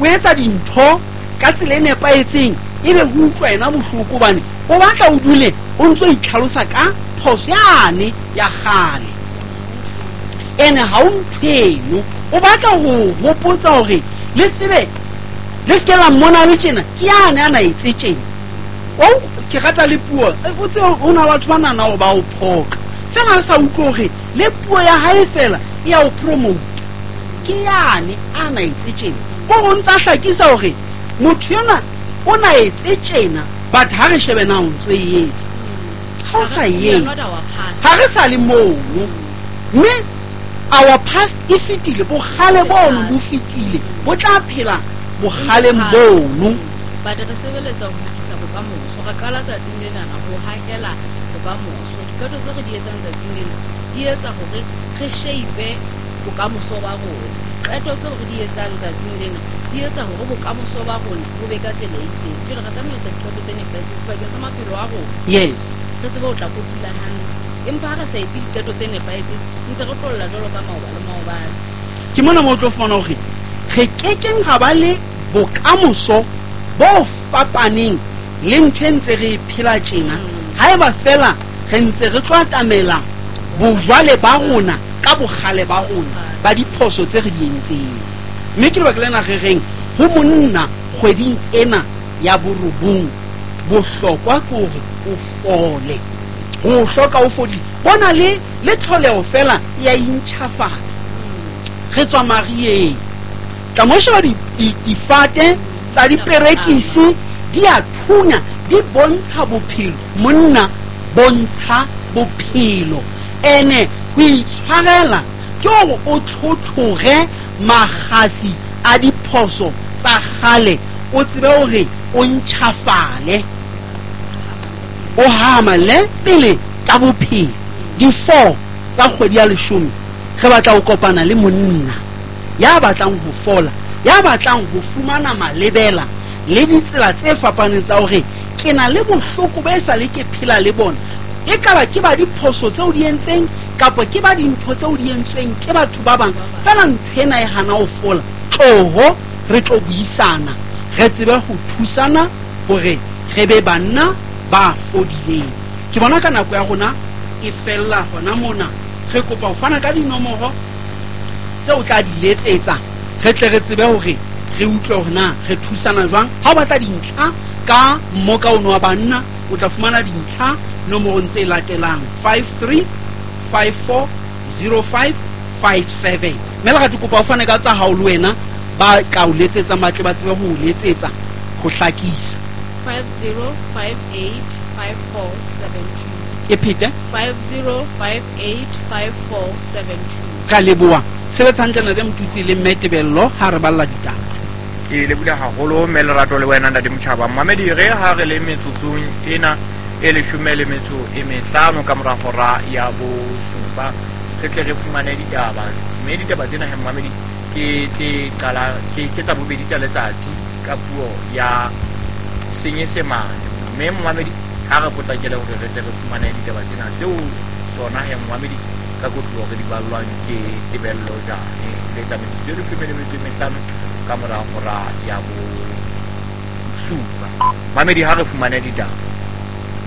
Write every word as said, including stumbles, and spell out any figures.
O etsa dintho ka tsela e nepahetseng, ebe ho utlwa yena bohloko hobane o batla o dule o ntso itlhalosa ka phoso yane ya kgale. Ene ha o nthweno, o batla ho hopotsa hore le tsebe le se ke la mmona le tjena, ke yane a na etse tjena. O ke rata le puo, o tsebe ho na batho ba nahana hore ba o phoqa. Fela a sa utlwe hore le puo ya hae fela e ya o promote. Ke yane a na etse tjena. Ko ho ntsa hlakisa hore motho yona o na etse tjena, but ha re shebe na o ntso e etsa. Ha o sa e etse, ha re sa le mono. Mme our past e fetile, bokgale bono bo fetile, bo tla phela bokgaleng bono. But re sebeletsa ho lokisa bokamoso. Re qala tsatsing lena ho hakela bokamoso. Diqeto tse re di etsang tsatsing lena di etsa hore re shape bokamoso ba rona. Diqeto tseo re di etsang tsatsing lena di etsa hore bokamoso ba rona bo be ka tsela e itseng. Jwale re tlameha ho etsa diqeto tse nepahetseng sebakeng sa maphelo a rona. Yes. Re tsebe ho tla kotula hantle. Empa ha re sa etse diqeto tse nepahetseng, ntse re tlolla jwalo ka maoba le maobane. Ke mona moo o tlo fumana hore re kekeng ra ba le bokamoso bo fapaneng le ntho e ntse re e phela tjena. Haeba fela re ntse re tlo atamela bojwale ba rona ka bokgale ba rona ba diphoso tse re di entseng. Mme ke lebaka lena re reng ho monna kgweding ena ya borobong, bohlokwa ke hore o fole. Ho hloka o fodile. Bona le, le tlholeho fela ya intjhafatsa. Re tswa marieng. Tla mo sheba di, di, difate tsa diperekisi di a thunya, di bontsha bophelo. Monna bontsha bophelo. Ene ho itshwarela ke hore o tlhotlhore makgasi a diphoso tsa kgale, o tsebe hore o ntjhafale, o hamale pele ka bophelo. Di-four tsa kgwedi ya leshome re batla ho kopana le monna ya batlang ho fola, ya batlang ho fumana malebela le ditsela tse fapaneng tsa hore ke na le bohloko bo esale ke phela le bona. Ekaba ke ba diphoso tseo di entseng kapa ke ba dintho tseo di entsweng ke batho ba bang, fela ntho ena e hana ho fola. Tloho re tlo buisana, re tsebe ho thusana hore re be banna ba fodileng. Ke bona ka nako ya rona e fella hona mona. Re kopa ho fana ka dinomoro tseo o tla di letsetsa, re tle re tsebe hore re utlwe hore na re thusana jwang. Ha o batla dintlha ka mmoka ono wa banna, o tla fumana dintlha nomorong tse latelang: five three five four zero five five seven. Mme le rate kopa o fane ka tsa hao le wena ba ka o letsetsang, ba tle ba tsebe ho o letsetsa ho hlakisa. five zero five eight five four seven two. E phete? five zero five eight five four seven two. Ka leboha. Sebetsa hantle Ntate Motutsi le Mme Tebello ha re balla ditaba. Ke lebohile haholo mme Lerato le wena Ntate Motjhaba. Mamedi re ha re le metsotsong ena e leshome le metso e mehlano ka mora hora ya bosupa, re tle re fumane ditaba. Mme ditaba tsena he mamedi ke tse qala ke, ke tsa bobedi tsa letsatsi ka puo ya Senyesemane. Mme mamedi ha re potlakele hore re tle re fumane ditaba tsena tseo tsona he mamedi ka kotloloho re di ballwang ke Tebello Jane. Le tsa metsotso e leshome le metso e mehlano ka mora hora ya bosupa. Mamedi ha re fumane ditaba.